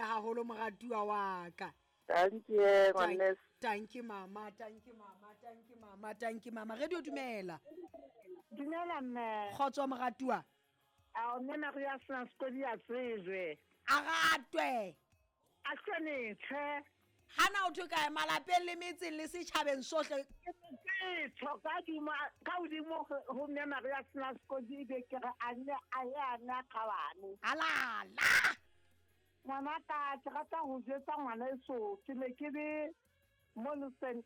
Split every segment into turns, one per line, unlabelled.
gagolo moratuwa wa ka.
Dankie ngwaneso.
Tanki mama, tanki mama, tanki mama, tanki mama. Radio dumela.
Dumela mme.
Kgotso moratuwa.
Ao mme Maria sena sekodi a tsejwe.
A ratwe.
A hlonitshwe.
Hana o thwe kae malapeng le metseng le setjhabeng sohle.
Ke tsho ka dimo ka hodimo ho mme Maria sena sekodi ebe ke re a nne a ye a nne a kgabane.
Alala.
Ngwana ka ke rata ho jwetsa ngwana eso ke ne ke le mono Saint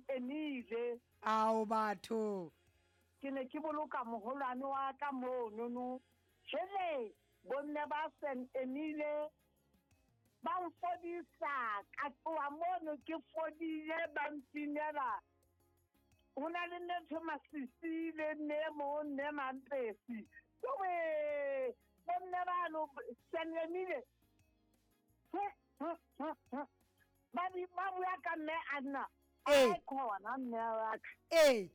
Emile.
Ao batho.
Ke ne ke boloka moholwane wa ka monono. Jwale bomme ba Saint Emile ba mfodisa ka tloha mono ke fodile ba mpinela. Ho na le mme ntho Masisi le mme mo mme Mampesi. Jowe bomme bano Saint Emile. Ba bua ka mme Anna.
Ee.
A khona mme wa ka.
Ee.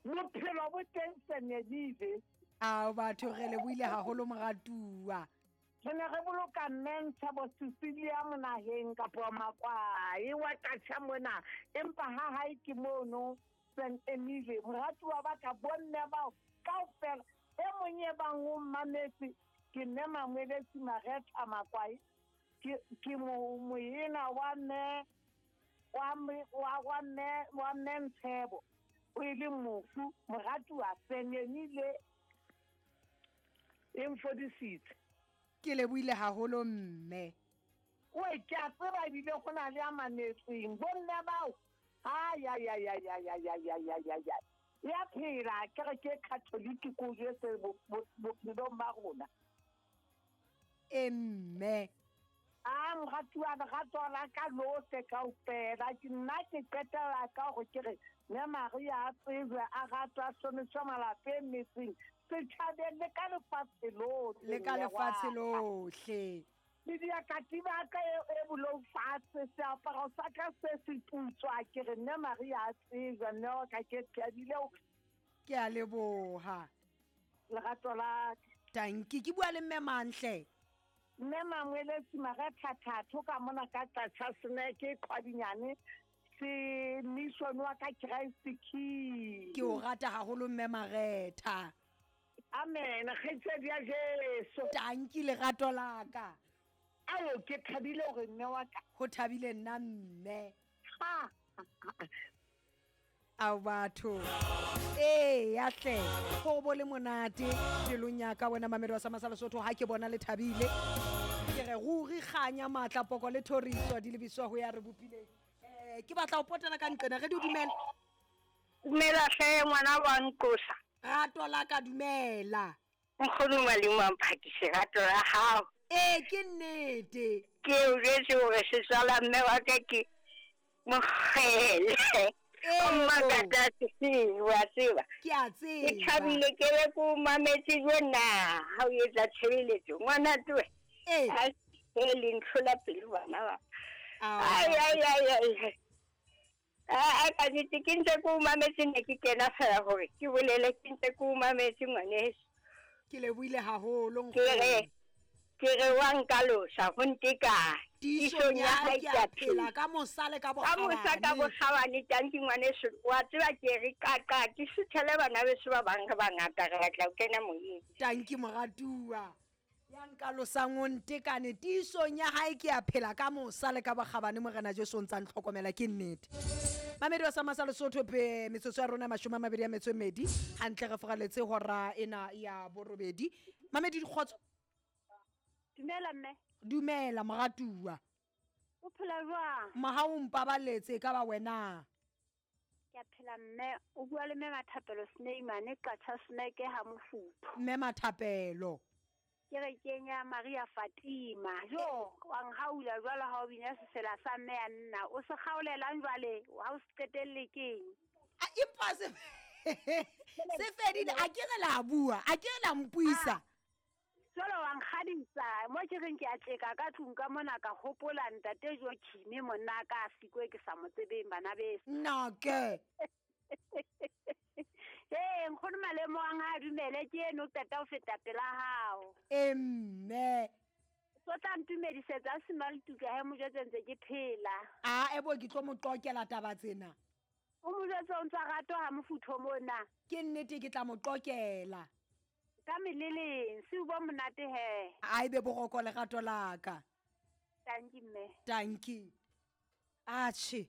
Bophelo bo teng Saint Emile.
Ao batho re lebohile haholo moratuwa.
Re ne re boloka mme Ntshebo Cecilia monaheng kapa Makwae wa Katjha mona, empa ha hae ke mono Saint Emile. Moratuwa ba ka bomme bao kaofela e mong e bang o mmametse ke mme Mangwelesi Maretha Makwae. Ke moena wa mme wa mme Ntshebo o ile mofu moratuwa Saint Emile e mfodisitse.
Ke lebohile haholo mme.
Oe ke a tseba ebile go na le a mametseng bomme bao. Ai ai ai ai ai ai ai ai ai ai ai. Ya phela ke re ke Catholic ko jwetse bophelong ba rona.
E mme.
A moratuwa lerato la ka lohle kaofela. Ke nna ke qetella ka hore ke re mme Maria a tsejwe a ratwa a hlonitshwe malapeng metseng setjhabeng le ka lefatshe lohle.
Le ka lefatshe lohle.
Le diakatiba ka e bolou fatshe, seaparo sa ka se se putswa ke re mme Maria a tsejwe mme wa ka ke thabile hore.
Ke a leboha.
Lerato la ka.
Tanki ke bua le mme Mantle.
Mme Mangwelesi Maretha Thatho ka mona ka Tlatjha Seneke Qhwadinyane se mission wa ka Christ King.
Ke o rata haholo mme Maretha.
Amen, kgaitsedi ya Jesu.
Tanki lerato la ka.
Ao ke thabile hore mme wa ka.
Ho thabile nna mme.
Ha.
Ao batho. Ee ya hle. Ho bo le monate pelong ya ka wena mamedi wa sa Masala Sotho ha ke bona le thabile. Ke re ruri kganya matla poko le thoriso di lebiswa ho ya re bopileng. Ke batla ho potela ka nqena re di dumela.
Dumela hle ngwana wa nqosa.
Rato la ka dumela.
Nkgono malimo a mphakise rato la hao.
Ee ke nnete.
Ke o jwetse hore setswala mme wa ka ke mokgele. O mmakatsa wa tseba.
Ke a tseba.
Ke thabile ke be ko mametse jona ha o etsa tshebeletso ngwana twe.
Ee.
A e le ntlhola pelo bana ba. Ai ai ai ai. A ka nnete ke ntse ko mametse ne ke kena fela hore ke bolele ke ntse ko mametse ngwaneso.
Ke lebohile haholo
nkgono. Ke re wa nkalosa ho nteka.
Tiisong ya hae ke a phela ka mosa le ka
Ka mosa ka bokgabane tanki ngwaneso wa tseba ke re qaqa ke suthele bana beso ba bang re bangata re batla ho kena moyeng.
Tanki moratuwa. Ya nkalosang o ntekane tiisong ya hae ke a phela ka mosa le ka bokgabane morena Jesu o ntsa ntlhokomela ke nnete. Mamedi wa sa Masala Sotho pe metsotso ya rona 22 hantle re foraletse hora ena ya borobedi. Mamedi dikgotso.
Dumela mme.
Dumela moratuwa.
O phela jwang?
Mahao mpabaletse ka ba wena.
Ke a phela mme. O bua le mme Mathapelo Sneimane Qacha Sneke ha Mofuthu.
Mme Mathapelo.
Ke re kenya Maria Fatima. Jo, wa nhaula jwalo ha o bina sesela sa mme ya nna. O se kgaolelang jwale ha o se qetelle keng?
A empa se se fedile a ke re la bua, a ke re la mpuisa.
Jwalo wa nkgadisa mo ke reng ke a tjeka ka tlung ka mona ka hopola ntate Joachim monna ka sikwe ke sa mo tsebeng bana beso.
Nna ke.
Ee nkgono malemo a nga dumele ke eno qeta ho feta pela hao.
E mme.
So tla ntumedisetsa a semaltuka he mo jwetse ntse ke phela.
A ebo ke tlo mo qokela taba tsena.
O mo jwetse o ntsa ratwa ha mofutho mona.
Ke nnete ke tla mo qokela.
Ka meleleng, se o bo monate he.
A ebe boroko lerato la ka.
Tanki mme.
Tanki. Atjhe.